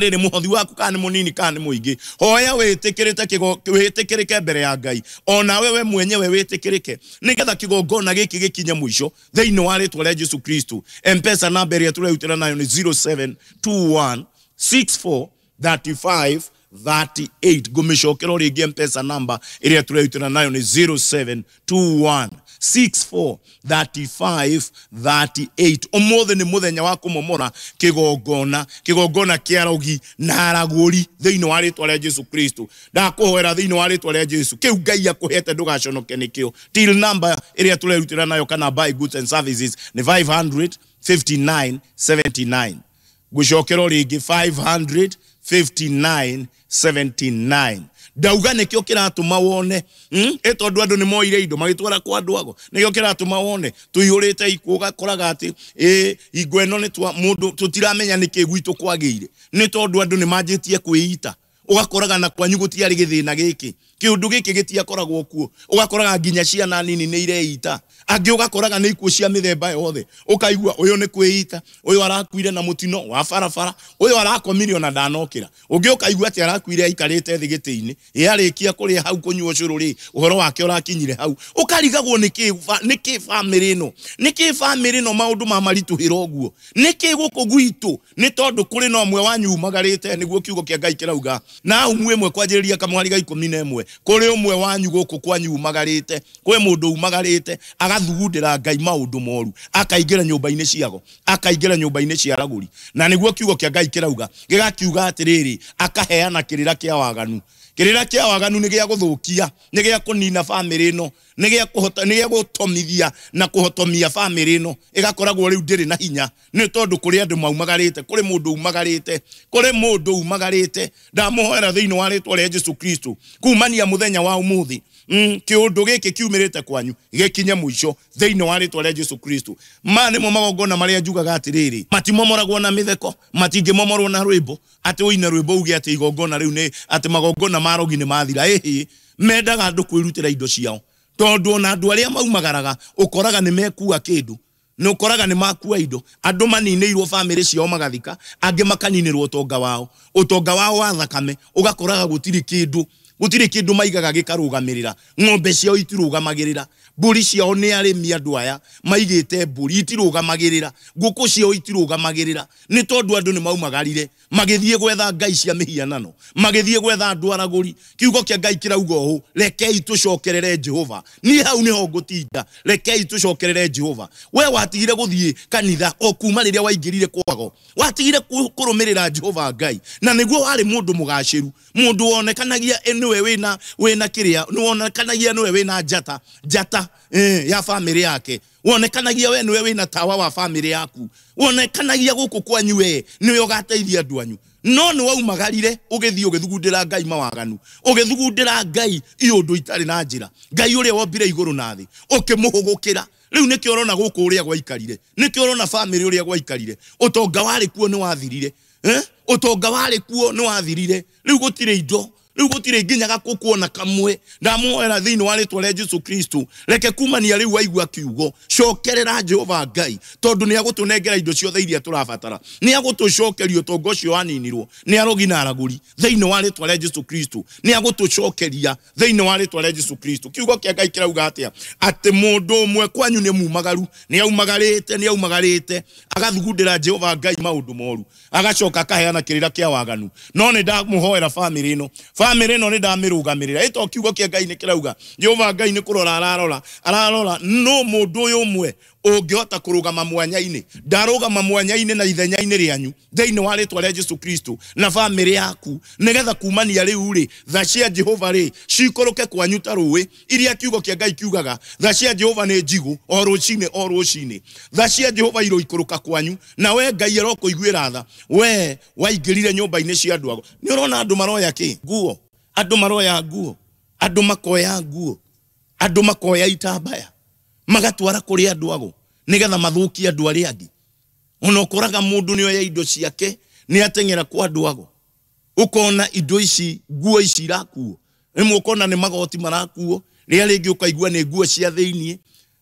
Rĩrĩ mũhothi waku kana nĩ mũnini kana nĩ mũingĩ, hoya wĩtĩkĩrĩte wĩtĩkĩrĩke mbere ya Ngai, onawe we mwenyewe wĩtĩkĩrĩke, nĩgetha kĩgongona gĩkĩ gĩkinye mũico thĩinĩ wa rĩtwa rĩa Jesu Kristo. M-Pesa namba ĩrĩa tũrerutĩra nayo nĩ 0721 64 35 38. Ngũmĩcokera o rĩngĩ, M-Pesa namba ĩrĩa tũrerutĩra nayo nĩ 0721 64 35 38. Ũmũthĩ nĩ mũthenya wa kũmomora kĩgongona, kĩgongona kĩa rogi na aragũri thĩinĩ wa rĩtwa rĩa Jesu Kristo. Ndakũhoera thĩinĩ wa rĩtwa rĩa Jesu, kĩu Ngai akũhete ndũgaconoke nĩkĩo. Till number ĩrĩa tũrerutĩra nayo kana buy goods and services nĩ 559 79. Ngũcokera o rĩngĩ, 559 79. Ndauga nĩkĩo kĩratũma wone, Ĩ tondũ andũ nĩ moire indo magĩtwara kwa andũ ago, nĩkĩo kĩratũma wone tũihũrĩte ikuũ. Ũgakoraga atĩ ĩ hingo ĩno nĩ twa mũndũ tũtiramenya nĩkĩ gwitũ kwagĩire, nĩ tondũ andũ nĩ manjĩtie kwĩita. Ũgakoraga na kwanyu gũtiarĩ gĩthĩna gĩkĩ, kĩũndũ gĩkĩ gĩtiakoragwo kuo. Ũgakoraga nginya ciana nini nĩ ireita, angĩ ũgakoraga nĩ ikuũ cia mĩthemba yothe. Ũkaigua ũyũ nĩ kwĩita, ũyũ arakuire na mũtino wa barabara, ũyũ arakomire ona ndanokĩra, ũngĩ ũkaigua atĩ arakuire aikarĩte thĩ gĩtĩ-inĩ, ĩ arĩkia kũrĩa hau kũnyua ũcũrũ rĩ, ũhoro wake ũrakinyire hau. Ũkarigagwo nĩkĩ nĩkĩ bamĩrĩ ĩno, nĩkĩ bamĩrĩ ĩno maũndũ ma maritũhĩra ũguo, nĩkĩ gũkũ gwitũ? Nĩ tondũ kũrĩ na ũmwe wanyu umagarĩte. Nĩguo kiugo kĩa Ngai kĩrauga na umu ĩmwe kwanjĩrĩria kamwari ga 11, kũrĩ ũmwe wanyu gũkũ kwanyu umagarĩte. Kwĩ mũndũ umagarĩte agathugundĩra Ngai maũndũ moru, akaingĩra nyũmba-inĩ ciago, akaingĩra nyũmba-inĩ cia aragũri, na nĩguo kiugo kĩa Ngai kĩrauga, gĩgakiuga atĩrĩrĩ, akaheana kĩrĩra kĩa waganu. Kĩrĩra kĩa waganu nĩ gĩa gũthũkia, nĩ gĩa kũnina bamĩrĩ ĩno, nĩ gĩa kũhota, nĩ gĩa gũtomithia na kũhotomia bamĩrĩ ĩno, ĩgakoragwo rĩu ndĩrĩ na hinya, nĩ tondũ kũrĩ andũ maumagarĩte, kũrĩ mũndũ umagarĩte, kũrĩ mũndũ umagarĩte. Ndamũhoera thĩinĩ wa rĩtwa rĩa Jesu Kristo, kumania mũthenya wa ũmũthĩ, kĩũndũ gĩkĩ kiumĩrĩte kwanyu gĩkinye mũico thĩinĩ wa rĩtwa rĩa Jesu Kristo. Maya nĩmo magongona marĩa njugaga atĩrĩrĩ, matimomoragwo na mĩtheko, matingĩmomorwo na rwĩmbo, atĩ ũine rwĩmbo uge atĩ igongona rĩu nĩ atĩ magongona ma rogi nĩ mathira. Ĩhĩ, mendaga andũ kwĩrutĩra indo ciao, tondũ ona andũ arĩa maumagaraga ũkoraga nĩ mekua kĩndũ, nĩ ũkoraga nĩ makua indo. Andũ maninĩirwo bamĩrĩ ciao magathika, angĩ makaninĩrwo ũtonga wao, ũtonga wao wa thakame. Ũgakoraga gũtirĩ kĩndũ, gũtirĩ kĩndũ maigaga gĩkarũgamĩrĩra. Ng'ombe ciao itirũgamagĩrĩra, mbũri ciao, nĩ arĩmi andũ aya maigĩte mbũri, itirũgamagĩrĩra, ngũkũ ciao itirũgamagĩrĩra, nĩ tondũ andũ nĩ maumagarire magĩthiĩ gwetha ngai cia mĩhianano, magĩthiĩ gwetha andũ aragũri. Kiugo kĩa Ngai kĩrauga ũũ, rekei tũcokerere Jehova. Niĩ hau nĩho ngũtinda. Rekei tũcokerere Jehova. We watigire gũthiĩ kanitha o kuma rĩrĩa waingĩrire kwago, watigire kũrũmĩrĩra Jehova Ngai, na nĩguo warĩ mũndũ mũgacĩru, mũndũ wonekanagia nĩwe wĩna kĩrĩa, nĩwonekanagia nĩwe wĩna njata, njata ya bamĩrĩ yake, wonekanagia we nĩwe wĩna tawa wa bamĩrĩ yaku, wonekanagia gũkũ kwanyu we nĩwe ũgateithia andũ anyu, no nĩ waumagarire ũgĩthiĩ ũgĩthugundĩra Ngai mawaganu, ũgĩthugundĩra Ngai iũndũ itarĩ na njĩra, Ngai ũrĩa wombire igũrũ na thĩ ũkĩmũhũgũkĩra. Rĩu nĩkĩo ũrona gũkũ ũrĩa gwaikarire, nĩkĩo ũrona bamĩrĩ ũrĩa gwaikarire. Ũtonga warĩ kuo nĩ wathirire, eh? Ũtonga warĩ kuo nĩ wathirire. Rĩu gũtirĩ indo, rĩu gũtirĩ nginya gakũkũ ona kamwe. Ndamũhoera thĩinĩ wa rĩtwa rĩa Jesu Kristo, reke kumania rĩu waigua kiugo, cokerera Jehova Ngai, tondũ nĩ agũtũnengera indo ciothe iria tũrabatara, nĩ agũtũcokeria ũtonga ũcio waninirwo nĩ arogi na aragũri thĩinĩ wa rĩtwa rĩa Jesu Kristo, nĩ agũtũcokeria thĩinĩ wa rĩtwa rĩa Jesu Kristo. Kiugo kĩa Ngai kĩrauga atĩa? Atĩ mũndũ ũmwe kwanyu nĩ mumagaru, nĩ aumagarĩte, nĩ aumagarĩte agathugundĩra Jehova Ngai maũndũ moru, agacoka akaheana kĩrĩra kĩa waganu. No nĩ ndamũhoera bamĩrĩ ĩno, bamĩrĩ ĩno nĩ ndamĩrũgamĩrĩra. Ĩto kiugo kĩa Ngai nĩ kĩrauga Jehova Ngai nĩ kũrora ararora, ararora no mũndũ ũyũ ũmwe ũngĩhota kũrũgama mwanya-inĩ. Ndarũgama mwanya-inĩ na ithenya-inĩ rĩanyu thĩinĩ wa rĩtwa rĩa Jesu Kristo na bamĩrĩ yaku, nĩgetha kumania rĩu rĩ, tha cia Jehova rĩ cikũrũke kwanyu ta rũĩ, iria kiugo kĩa Ngai kiugaga tha cia Jehova nĩ njigũ o rũcinĩ o rũcinĩ. Tha cia Jehova iroikũrũka kwanyu, na we Ngai arokũiguĩra tha, we waingĩrire nyũmba-inĩ cia andũ ago. Nĩ ũrona andũ maroya kĩ nguo, andũ maroya nguo, andũ makoya nguo, andũ makoya itambaya magatwara kũrĩ andũ ago nĩgetha mathũkie andũ arĩa angĩ. Ona ũkoraga mũndũ nĩ oya indo ciake, nĩ ateng'era kwa andũ ago, ũkona indo ici, nguo ici irakuo, rĩmwe ũkona nĩ magoti marakuo, rĩrĩa rĩngĩ ũkaigua nĩ nguo cia thĩiniĩ.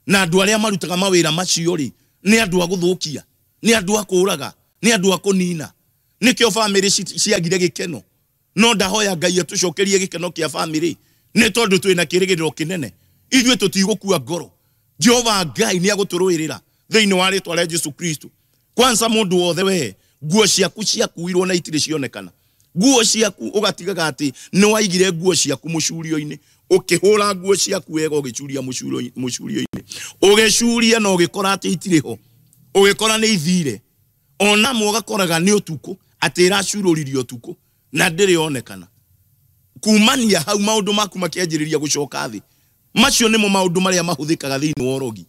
Na andũ arĩa marutaga mawĩra macio rĩ, nĩ andũ a gũthũkia, nĩ andũ a kũũraga, nĩ andũ a kũnina. Nĩkĩo bamĩrĩ ciagire gĩkeno. No ndahoya Ngai atũcokerie gĩkeno kĩa bamĩrĩ, nĩ tondũ twĩna kĩrĩgĩrĩro kĩnene. Ithuĩ tũtigũkua ngoro. Jehova Ngai nĩ agũtũrũĩrĩra thĩinĩ wa rĩtwa rĩa Jesu Kristo. Kwanza mũndũ wothe we nguo ciaku ciakuirwo na itirĩ cionekana. Nguo ciaku ũgatigaga atĩ nĩ waigire nguo ciaku mũcurio-inĩ, ũkĩhũra nguo ciaku wega ũgĩcuria mũcurio-inĩ, ũgĩcuria na ũgĩkora atĩ itirĩ ho, ũgĩkora nĩ ithire. Ona amwe ũgakoraga nĩ ũtukũ atĩ ĩracurũririo ũtukũ na ndĩrĩ yonekana. Kumania hau maũndũ maku makĩanjĩrĩria gũcoka thĩ. Macio nĩmo maũndũ marĩa mahũthĩkaga thĩinĩ wa ũrogi.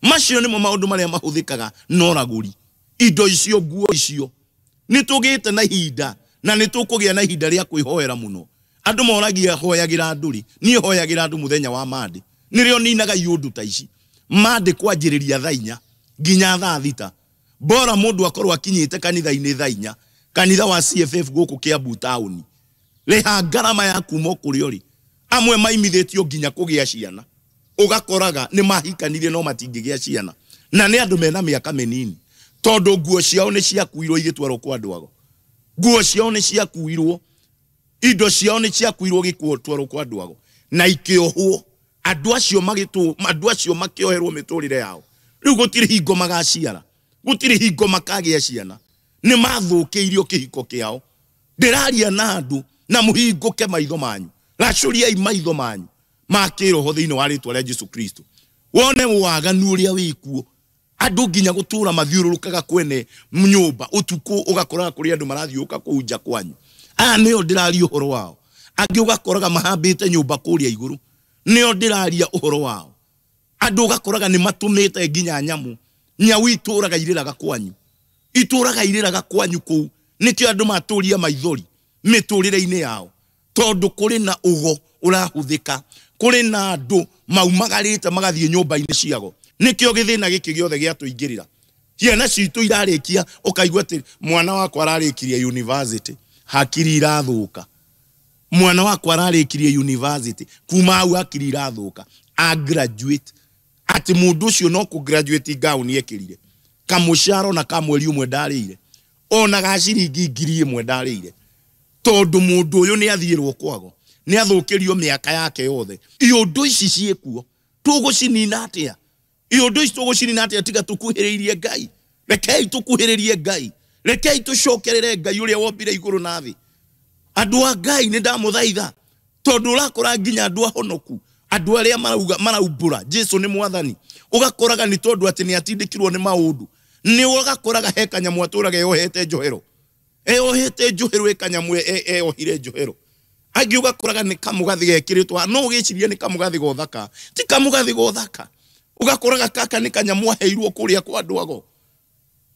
Macio nĩmo maũndũ marĩa mahũthĩkaga na ũragũri. Indo icio, nguo icio. Nĩ tũgĩte na ihinda na nĩ tũkũgĩa na ihinda rĩa kwĩhoera mũno. Andũ moragia hoyagĩra andũ rĩ, niĩ hoyagĩra andũ mũthenya wa Monday. Nĩrĩo ninaga iũndũ ta ici. Monday kwanjĩrĩria thaa 4 nginya thaa 6. Bora mũndũ akorwo akinyĩte kanitha-inĩ thaa 4, kanitha wa CFF gũkũ Kiambu taũni. Rĩha ngarama ya kuma kũrĩa ũrĩ. Amwe maimithĩtio nginya kũgĩa ciana. Ũgakoraga nĩ mahikanirie no matingĩgĩa ciana. Na nĩ andũ mena mĩaka mĩnini. Tondũ nguo ciao nĩ ciakuirwo igĩtwarwo kwa andũ ago. Nguo ciao nĩ ciakuirwo, indo ciao nĩ ciakuirwo gĩtwarwo kwa andũ ago. Na ikĩohwo. Andũ acio andũ acio makĩoherwo mĩtũrĩre yao. Rĩu gũtirĩ hingo magaciara. Gũtirĩ hingo makagĩa ciana. Nĩ mathũkĩirio kĩhiko kĩao. Ndĩraria na andũ na mũhingũke maitho manyu. Racũriai maitho manyu ma kĩroho thĩinĩ wa rĩtwa rĩa Jesu Kristo. Wone waganu ũrĩa wĩkuo. Andũ nginya gũtũra mathiũrũrũkaga kwene nyũmba ũtukũ, ũgakoraga kũrĩ andũ marathiũka kũu nja kwanyu. Aya nĩo ndĩraria ũhoro wao. Angĩ ũgakoraga mahambĩte nyũmba kũrĩa igũrũ, nĩo ndĩraria ũhoro wao. Andũ ũgakoraga nĩ matũmĩte nginya nyamũ. Nyau itũraga irĩraga kwanyu. Itũraga irĩraga kwanyu kũu. Nĩkĩo andũ matũria maithori mĩtũrĩre-inĩ yao. Tondũ kũrĩ na ũgo ũrahũthĩka, kũrĩ na andũ maumagarĩte magathiĩ nyũmba-inĩ ciago. Nĩkĩo gĩthĩna gĩkĩ gĩothe gĩatũingĩrĩra. Ciana citũ irarĩkia, ũkaigua atĩ mwana wakwa ararĩkirie university, hakiri irathũka. Mwana wakwa ararĩkirie university, kuma hau hakiri irathũka. A graduate. Atĩ mũndũ ũcio no kũ graduate gown ekĩrire. Kamũcara ona ka mweri ũmwe ndarĩire. Ona ga ciringi 1,000 ndarĩire. Tondũ mũndũ ũyũ nĩ athiĩrwo kwago. Nĩ athũkĩrio mĩaka yake yothe. Iũndũ ici ciĩkuo, tũgũcinina atĩa? Iũndũ ici tũgũcinina atĩa tiga tũkuhĩrĩirie Ngai? Rekei tũkuhĩrĩrie Ngai. Rekei tũcokerere Ngai ũrĩa wombire igũrũ na thĩ. Andũ a Ngai nĩ ndamũthaitha. Tondũ ũrakora nginya andũ ahonoku, andũ arĩa marauga maraumbũra Jesu nĩ mwathani, ũgakoraga nĩ tondũ atĩ nĩ atindĩkirwo nĩ maũndũ. Nĩ ũgakoraga he kanyamũ atũraga eyohete njohero. Eyohete njohero, ĩ kanyamũ eyohire njohero. Angĩ ũgakoraga nĩ kamũgathĩ gekĩrĩtwo, no ũgĩcirie nĩ kamũgathĩ gothaka. Ti kamũgathĩ gothaka. Ũgakoraga kaka nĩ kanyamũ aheirwo kũrĩa kwa andũ ago.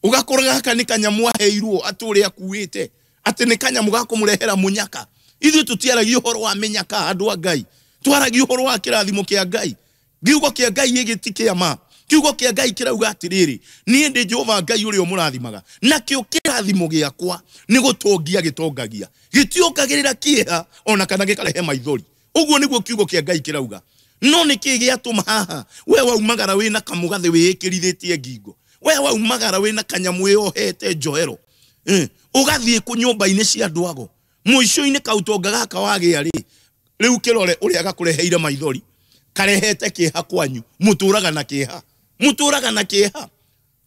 Ũgakoraga gaka nĩ kanyamũ aheirwo atũre akuĩte. Atĩ nĩ kanyamũ ga kũmũrehera mũnyaka. Ithuĩ tũtiaragia ũhoro wa mĩnyaka andũ a Ngai. Twaragia ũhoro wa kĩrathimo kĩa Ngai. Kiugo kĩa Ngai gĩgĩti kĩa ma. Kiugo kĩa Ngai kĩrauga atĩrĩrĩ, niĩ ndĩ Jehova Ngai ũrĩa ũmũrathimaga. Nakĩo kĩrathimo gĩakwa nĩ gũtongia gĩtongagia. Gĩtiongagĩrĩra kĩeha ona kana gĩkarehe maithori. Ũguo nĩguo kiugo kĩa Ngai kĩrauga. No nĩkĩ gĩatũma haha we waumagara wĩna kamũgathĩ wĩĩkĩrithĩtie ngingo, we waumagara wĩna kanyamũ wĩyohete njohero, ũgathiĩ kũ nyũmba-inĩ cia andũ ago, mũico-inĩ kautonga gaka wagĩa rĩ, rĩu kĩrore ũrĩa gakũreheire maithori, karehete kĩeha kwanyu, mũtũraga na kĩeha, mũtũraga na kĩeha,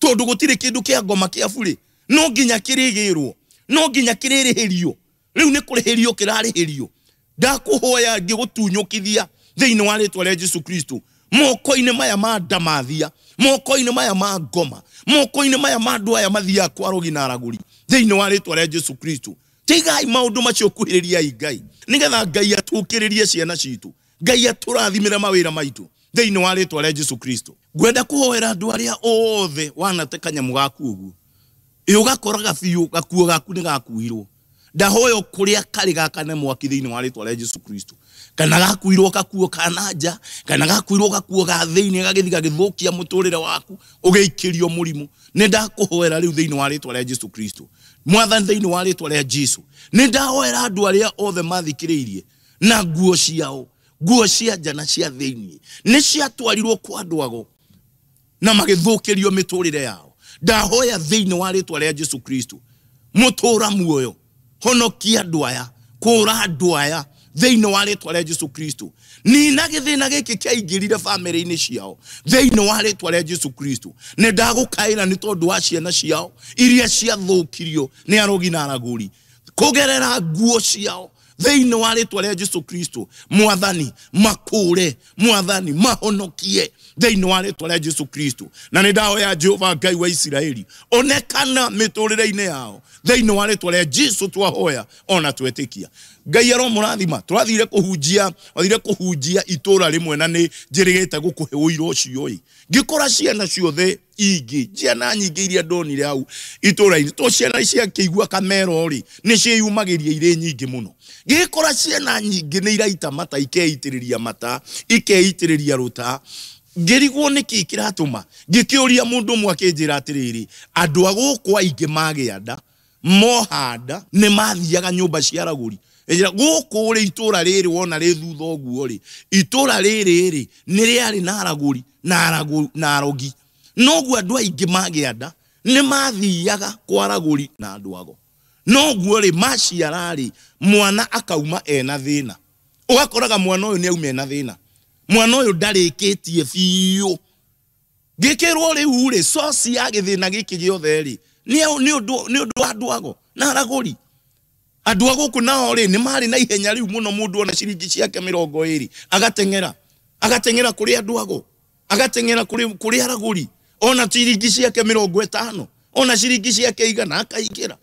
tondũ gũtirĩ kĩndũ kĩa ngoma kĩa burĩ, no nginya kĩrĩgĩrwo, no nginya kĩrĩrĩhĩrio, rĩu nĩ kũrĩhĩrio kĩrarĩhĩrio. Ndakũhoya ngĩgũtunyũkithia thĩinĩ wa rĩtwa rĩa Jesu Kristo, moko-inĩ maya ma ndamathia, moko-inĩ maya ma ngoma, moko-inĩ maya ma andũ aya mathiaga kwa arogi na aragũri, thĩinĩ wa rĩtwa rĩa Jesu Kristo. Tigai maũndũ macio, kuhĩrĩriai Ngai, nĩgetha Ngai atũkĩrĩrie ciana citũ, Ngai atũrathimĩre mawĩra maitũ thĩinĩ wa rĩtwa rĩa Jesu Kristo. Ngwenda kũhoera andũ arĩa othe wanate kanyamũ gaku ũguo, ĩ ũgakoraga biũ gakuo gaku nĩ gakuirwo. Ndahoya kũrĩa karĩ gakane mwaki thĩinĩ wa rĩtwa rĩa Jesu Kristo. Kana gakuirwo gakuo ka na nja, kana gakuirwo gakuo ga thĩinĩ gagĩthiĩ gagĩthũkia mũtũrĩre waku, ũgĩikĩrio mũrimũ. Nĩ ndakũhoera rĩu thĩinĩ wa rĩtwa rĩa Jesu Kristo. Mwathani, thĩinĩ wa rĩtwa rĩa Jesu, nĩ ndahoera andũ arĩa othe mathikĩrĩirie na nguo ciao, nguo cia nja na cia thĩinĩ nĩ ciatwarirwo kwa andũ ago na magĩthũkĩrio mĩtũrĩre yao. Ndahoya thĩinĩ wa rĩtwa rĩa Jesu Kristo, Mũtũra muoyo, honokia andũ aya, kũra andũ aya thĩinĩ wa rĩtwa rĩa Jesu Kristo. Nina gĩthĩna gĩkĩ kĩaingĩrire bamĩrĩ-inĩ ciao thĩinĩ wa rĩtwa rĩa Jesu Kristo. Nĩ ndagũkaĩra nĩ tondũ wa ciana ciao iria ciathũkirio nĩ arogi na aragũri kũgerera nguo ciao thĩinĩ wa rĩtwa rĩa Jesu Kristo. Mwathani makũre, Mwathani mahonokie thĩinĩ wa rĩtwa rĩa Jesu Kristo. Na nĩ ndahoya Jehova Ngai wa Isiraeli onekana mĩtũrĩre-inĩ yao thĩinĩ wa rĩtwa rĩa Jesu, twahoya ona twetĩkia. Ngai aromũrathima. Twathire kũhunjia, wathire kũhunjia itũra rĩmwe na nĩ njĩrĩgĩte gũkũhe ũira ũcio ĩ. Ngĩkora ciana ciothe ingĩ, ciana nyingĩ iria ndonire hau itũra-inĩ, to ciana ciakĩigua kamero rĩ, nĩ ciĩyumagĩria irĩ nyingĩ mũno. Ngĩkora ciana nyingĩ nĩ iraita mata, ikeitĩrĩria mata, ikeitĩrĩria rũta. Ngĩrigwo nĩkĩ kĩratũma. Ngĩkĩũria mũndũ ũmwe akĩnjĩra atĩrĩrĩ, andũ a gũkũ aingĩ magĩa nda, moha nda, nĩ mathiaga nyũmba cia aragũri. Ĩnjĩra, gũkũ rĩ, itũra rĩrĩ wona rĩ thutha ũguo rĩ, itũra rĩrĩ rĩ, nĩ rĩarĩ na aragũri na arogi. Noguo andũ aingĩ magĩa nda, nĩ mathiaga kwa aragũri na andũ ago. Noguo rĩ, maciara rĩ, mwana akauma ena thĩna. Ũgakoraga mwana ũyũ nĩ auma ena thĩna. Mwana ũyũ ndarĩkĩtie biũ. Ngĩkĩrwo rĩu rĩ, source ya gĩthĩna gĩkĩ gĩothe rĩ, nĩ ũndũ wa andũ ago na aragũri. Andũ a gũkũ nao rĩ, nĩ marĩ na ihenya rĩu mũno, mũndũ ona ciringi ciake 20 agateng'era, agateng'era kũrĩ andũ ago, agateng'era kũrĩ aragũri, ona ciringi ciake 50, ona ciringi ciake 100 akaingĩra.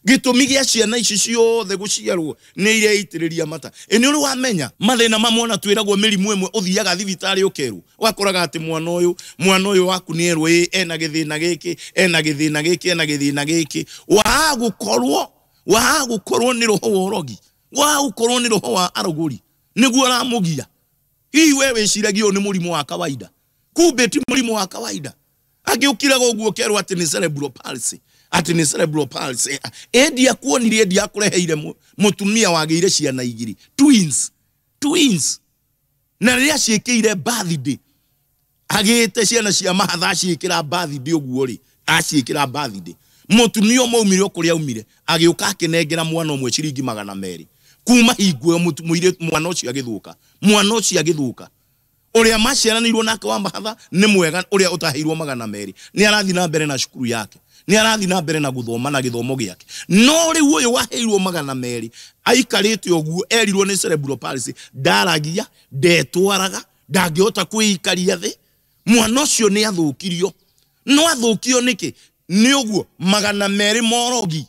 Gĩtũmi gĩa ciana ici ciothe gũciarwo nĩ ireitĩrĩria mata. Ĩ nĩ ũrĩ wamenya mathĩna mamwe ona twĩragwo mĩrimũ ĩmwe ũthiaga thibitarĩ ũkerwo, ũgakoraga atĩ mwana ũyũ waku nĩ erwo ĩ ena gĩthĩna gĩkĩ, ena gĩthĩna gĩkĩ, ena gĩthĩna gĩkĩ. Waa gũkorwo nĩ roho wa ũrogi, waa gũkorwo nĩ roho wa arũgũri, nĩguo ũramũgia. Hihi we wĩciragia ũyũ nĩ mũrimũ wa kawaida, kumbe ti mũrimũ wa kawaida. Angĩũkiraga ũguo ũkerwo atĩ nĩ cerebral palsy, atĩ nĩ cerebral palsy. Endi akuonirie, endi akũreheire mũtumia wagĩire ciana igĩrĩ, twins, twins. Na rĩrĩa ciĩkĩire birthday, agĩte ciana cia mahatha aciĩkĩra birthday ũguo rĩ, aciĩkĩra birthday. Mũtumia ũmwe aumire o kũrĩa aumire, agĩũka akĩnengera mwana ũmwe ciringi 200. Kuma hingo ĩyo mwana ũcio agĩthũka, mwana ũcio agĩthũka. Ũrĩa maciaranĩirwo nake wa mahatha nĩ mwega, ũrĩa ũtaheirwo 200 nĩ arathiĩ na mbere na cukuru yake, nĩ arathiĩ na mbere na gũthoma na gĩthomo gĩake. No rĩu ũyũ waheirwo 200 aikarĩte ũguo, erirwo nĩ cerebral palsy, ndaragia, ndetwaraga, ndangĩhota kwĩikaria thĩ. Mwana ũcio nĩ athũkirio. No athũkio nĩkĩ? Nĩ ũguo 200 morogi.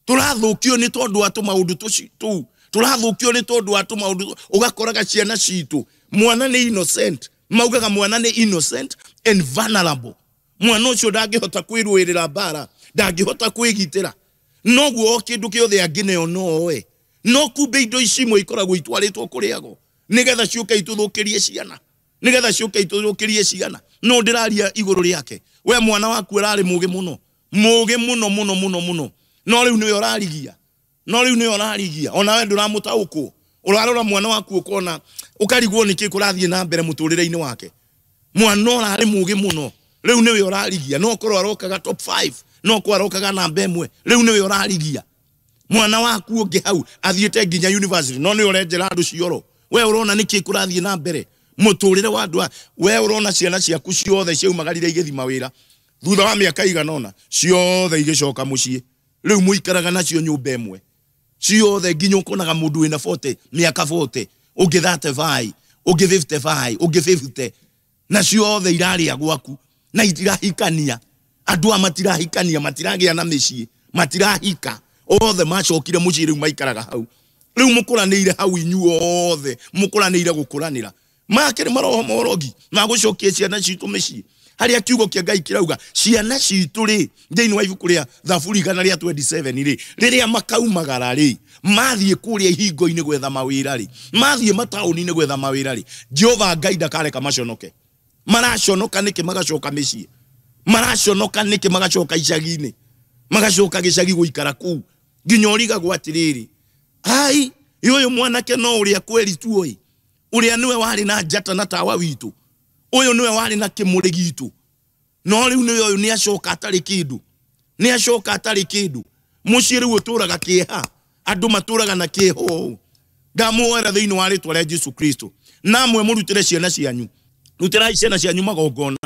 Tũrathũkio nĩ tondũ wa tũmaũndũ tũu, tũrathũkio nĩ tondũ wa tũmaũndũ. Ũgakoraga ciana citũ, mwana nĩ innocent, maugaga mwana nĩ innocent and vulnerable. Mwana ũcio ndangĩhota kwĩrũĩrĩra mbara, ndangĩhota kwĩgitĩra. Noguo o kĩndũ kĩothe angĩneo no oe. No kumbe indo ici imwe ikoragwo itwarĩtwo kũrĩ ago, nĩgetha ciũke itũthũkĩrie ciana, nĩgetha ciũke itũthũkĩrie ciana. No ndĩraria igũrũ rĩake. We mwana waku ararĩ mũgĩ mũno, mũgĩ mũno mũno mũno mũno, no rĩu nĩwe ũrarigia, no rĩu nĩwe ũrarigia. Ona we ndũramũtaũkwo. Ũrarora mwana waku ũkona, ũkarigwo nĩkĩ kũrathiĩ na mbere mũtũrĩre-inĩ wake. Mwana ũrarĩ mũgĩ mũno, rĩu nĩwe ũrarigia. No korwo arokaga top 5, no korwo arokaga namba 1, rĩu nĩwe ũrarigia. Mwana waku ũngĩ hau athiĩte nginya university, no nĩwe ũrenjera andũ cioro. We ũrona nĩkĩ kũrathiĩ na mbere mũtũrĩre wa andũ. We ũrona ciana ciaku ciothe ciaumagarire igĩthiĩ mawĩra, thutha wa mĩaka igana ũna ciothe igĩcoka mũciĩ. Rĩu mũikaraga nacio nyũmba ĩmwe ciothe, nginya ũkonaga mũndũ wĩna 40, mĩaka 40, ũngĩ 35, ũngĩ 55, ũngĩ 50, na ciothe irarĩa gwaku na itirahikania. Andũ aya matirahikania, matiragĩa na mĩciĩ, matirahika. Othe macokire mũciĩ, rĩu maikaraga hau. Rĩu mũkũranĩire hau inyuothe, mũkũranĩire gũkũranĩra. Makĩrĩ maroho morogi ma gũcokia ciana citũ mĩciĩ. Harĩa kiugo kĩa Ngai kĩrauga ciana citũ rĩ, thĩinĩ wa ibuku rĩa Thaburi 127 rĩ, rĩrĩa makaumagara rĩ, mathiĩ kũrĩa ihingo-inĩ gwetha mawĩra rĩ, mathiĩ mataũni-inĩ gwetha mawĩra rĩ, Jehova Ngai ndakareka maconoke. Maraconoka nĩkĩ magacoka mĩciĩ? Maraconoka nĩkĩ magacoka icagi-inĩ? Magacoka gĩcagi gũikara kũu. Nginya ũrigagwo atĩrĩrĩ, ai, ũyũ mwanake no ũrĩa kweri tuoĩ, ũrĩa nĩwe warĩ na njata na tawa witũ, ũyũ nĩwe warĩ na kĩmũrĩ gitũ, no rĩu nĩwe ũyũ nĩacoka atarĩ kĩndũ, nĩacoka atarĩ kĩndũ. Mũciĩ rĩu ũtũraga kĩeha, andũ matũraga na kĩeha ũũ. Ndamuoera thĩinĩ wa rĩtwa rĩa Jesu Kristo. Namwe mũrutĩre ciana cianyu, rutĩrai ciana cianyu magongona,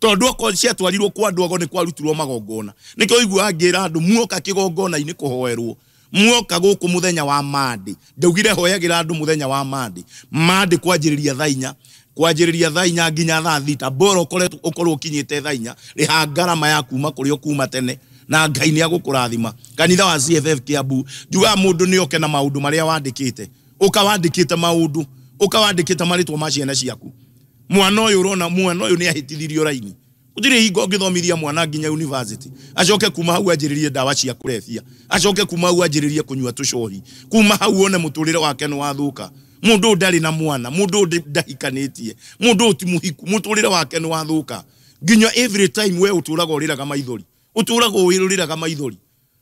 tondũ okorwo ciatwarirwo kwa andũ ago nĩ kwarutirwo magongona. Nĩkĩo ũiguaga ngĩra andũ muoka kĩgongona-inĩ kũhoerwo, muoka gũkũ mũthenya wa Monday. Ndaugire hoyagĩra andũ mũthenya wa Monday. Monday kwanjĩrĩria thaa inya, kwanjĩrĩria thaa inya nginya thaa thita, bora ũkorwo ũkinyĩte thaa inya, rĩha ngarama ya kuma kũrĩa ũkuma tene, na Ngai nĩ agũkũrathima. Kanitha wa CFF Kiambu, njugaga mũndũ nĩ oke na maũndũ marĩa wandĩkĩte, ũka wandĩkĩte maũndũ, ũka wandĩkĩte marĩtwa ma ciana ciaku. Mwana ũyũ ũrona, mwana ũyũ nĩ ahĩtithirio raini. Gũtirĩ hingo ũngĩthomithia mwana nginya university, acoke kuma hau anjĩrĩrie ndawa cia kũrebia, acoke kuma hau anjĩrĩrie kũnyua tũcohi, kuma hau one mũtũrĩre wake nĩ wathũka. Mũndũ ũyũ ndarĩ na mwana, mũndũ ũyũ ndahikanĩtie, mũndũ ũyũ ti mũhiku, mũtũrĩre wake nĩ wathũka. Nginya every time we ũtũraga ũrĩraga maithori, ũtũraga ũrĩraga maithori.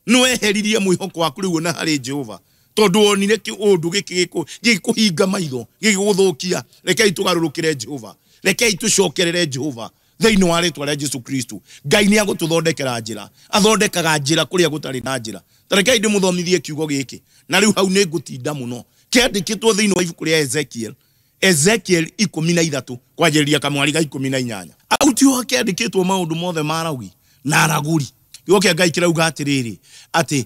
Nĩ weheririe mwĩhoko waku rĩu ona harĩ Jehova, tondũ wonire kĩũndũ gĩkĩ gĩkũhinga maitho, gĩgũthũkia. Rekei tũgarũrũkĩre Jehova, rekei tũcokerere Jehova thĩinĩ wa rĩtwa rĩa Jesu Kristo. Ngai nĩ agũtũthondekera njĩra, athondekaga njĩra kũrĩa gũtarĩ na njĩra. Ta rekei ndĩmũthomithie kiugo gĩkĩ, na rĩu hau nĩ ngũtinda mũno. Kĩandĩkĩtwo thĩinĩ wa ibuku rĩa Ezekiel, Ezekiel 13 kwanjĩrĩria kamwari ga 18. Hau tiho kĩandĩkĩtwo maũndũ mothe ma aragũri na aragũri. Kiugo kĩa Ngai kĩrauga atĩrĩrĩ, atĩ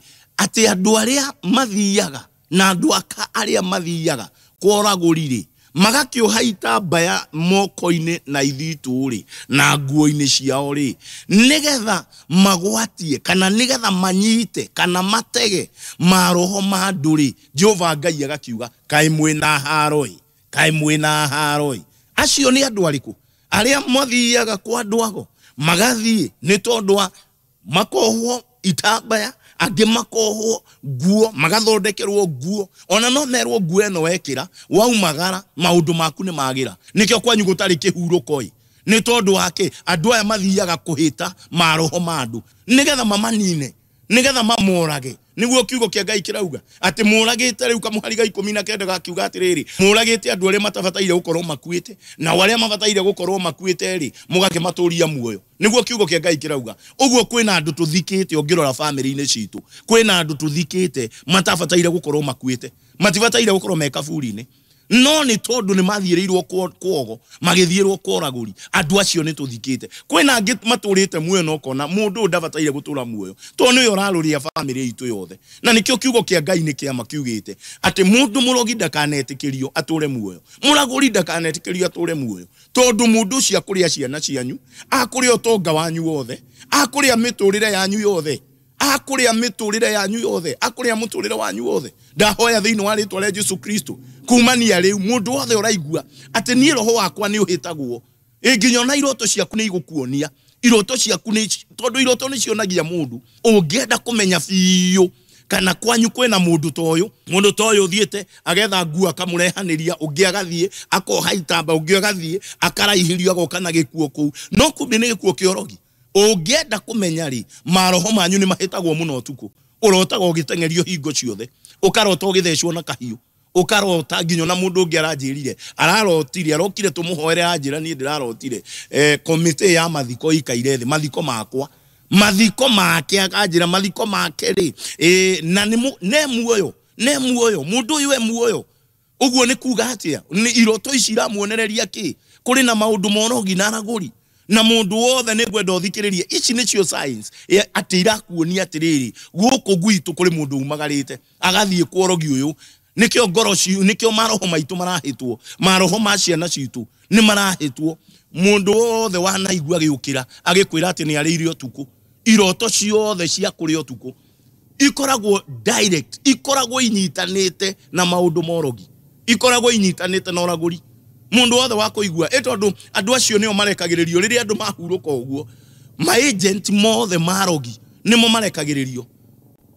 andũ arĩa mathiaga na andũ aka arĩa mathiaga kwa ũragũri rĩ, magakĩoha itambaya moko-inĩ na ithitũ rĩ, na nguo-inĩ ciao rĩ, nĩgetha magwatie kana nĩgetha manyite kana matege maroho ma andũ rĩ, Jehova Ngai agakiuga, kaĩ mwĩna haro-ĩ, kaĩ mwĩna haro-ĩ. Acio nĩ andũ arĩkũ? Arĩa mathiaga kwa andũ ago, magathiĩ nĩ tondũ wa makohwo itambaya, angĩ makohwo nguo, magathondekerwo nguo. Ona no merwo nguo ĩno wekĩra, waumagara, maũndũ maku nĩ magĩra. Nĩkĩo kwanyu gũtarĩ kĩhurũko-ĩ. Nĩ tondũ wa kĩ? Andũ aya mathiaga kũhĩta maroho ma andũ nĩgetha mamanine, nĩgetha mamorage. Nĩguo kiugo kĩa Ngai kĩrauga atĩ mũragĩte rĩu kamũhari ga 19 gakiuga atĩrĩrĩ, mũragĩte andũ arĩa matabataire gũkorwo makuĩte, nao arĩa mabataire gũkorwo makuĩte rĩ, mũgakĩmatũria muoyo. Nĩguo kiugo kĩa Ngai kĩrauga. Ũguo kwĩna andũ tũthikĩte, ũngĩrora bamĩrĩ-inĩ citũ, kwĩna andũ tũthikĩte matabataire gũkorwo makuĩte, matibataire gũkorwo me kaburi-inĩ, no nĩ tondũ nĩ mathiĩrĩirwo kwogo, magĩthiĩrwo kwa ũragũri, andũ acio nĩ tũthikĩte. Kwĩna angĩ matũrĩte muoyo na ũkona mũndũ ũyũ ndabataire gũtũra muoyo, tondũ nĩwe ũrarũria bamĩrĩ itũ yothe. Na nĩkĩo kiugo kĩa Ngai nĩ kĩama kiugĩte atĩ mũndũ mũrogi ndakanetĩkĩrio atũre muoyo, mũragũri ndakanetĩkĩrio atũre muoyo, tondũ mũndũ ũcio akũrĩa ciana cianyu, akũrĩa ũtonga wanyu wothe, akũrĩa mĩtũrĩre yanyu yothe, akũrĩa mĩtũrĩre yanyu yothe, akũrĩa mũtũrĩre wanyu wothe. Ndahoya thĩinĩ wa rĩtwa rĩa Jesu Kristo, kumania rĩu mũndũ wothe ũraigua atĩ niĩ roho wakwa nĩ ũhĩtagwo, ĩ nginya ona iroto ciaku nĩ igũkuonia. Iroto ciaku nĩ, tondũ iroto nĩ cionagia mũndũ. Ũngĩenda kũmenya biũ kana kwanyu kwĩna mũndũ ta ũyũ, mũndũ ta ũyũ ũthiĩte agetha nguo akamũrehanĩria, ũngĩ agathiĩ akoha itamba, ũngĩ agathiĩ akaraihĩrio agoka na gĩkuo kũu, no kumbe nĩ gĩkuo kĩa ũrogi. Ũngĩenda kũmenya rĩ, maroho manyu nĩ mahĩtagwo mũno ũtukũ. Ũrotaga ũgĩteng'erio hingo ciothe, ũkarota ũgĩthecwo na kahiũ, ũkarota nginya ona mũndũ ũngĩ aranjĩrire, ararotire, arokire tũmũhoere, aranjĩra niĩ ndĩrarotire, komĩtĩ ya mathiko ikaire thĩ, mathiko makwa, mathiko make, akanjĩra mathiko make rĩ, na nĩ muoyo, nĩ muoyo, mũndũ ũyũ e muoyo. Ũguo nĩ kuga atĩa? Nĩ iroto ici iramuonereria kĩ? Kũrĩ na maũndũ morogi na aragũri, na mũndũ wothe nĩ ngwenda ũthikĩrĩrie. Ici nĩcio signs atĩ irakuonia atĩrĩrĩ, gũkũ gwitũ kũrĩ mũndũ umagarĩte agathiĩ kwa ũrogi ũyũ. Nĩkĩo ngoro nĩkĩo maroho maitũ marahĩtwo, maroho ma ciana citũ nĩ marahĩtwo. Mũndũ wothe wanaigua agĩũkĩra agĩkwĩra atĩ nĩ arĩire ũtukũ, iroto ciothe cia kũrĩa ũtukũ ikoragwo direct, ikoragwo inyitanĩte na maũndũ ma ũrogi, ikoragwo inyitanĩte na ũragũri. Mũndũ wothe wa kũigua, ĩ tondũ andũ acio nĩo marekagĩrĩrio rĩrĩa andũ mahurũka ũguo, ma agent mothe ma arogi nĩmo marekagĩrĩrio,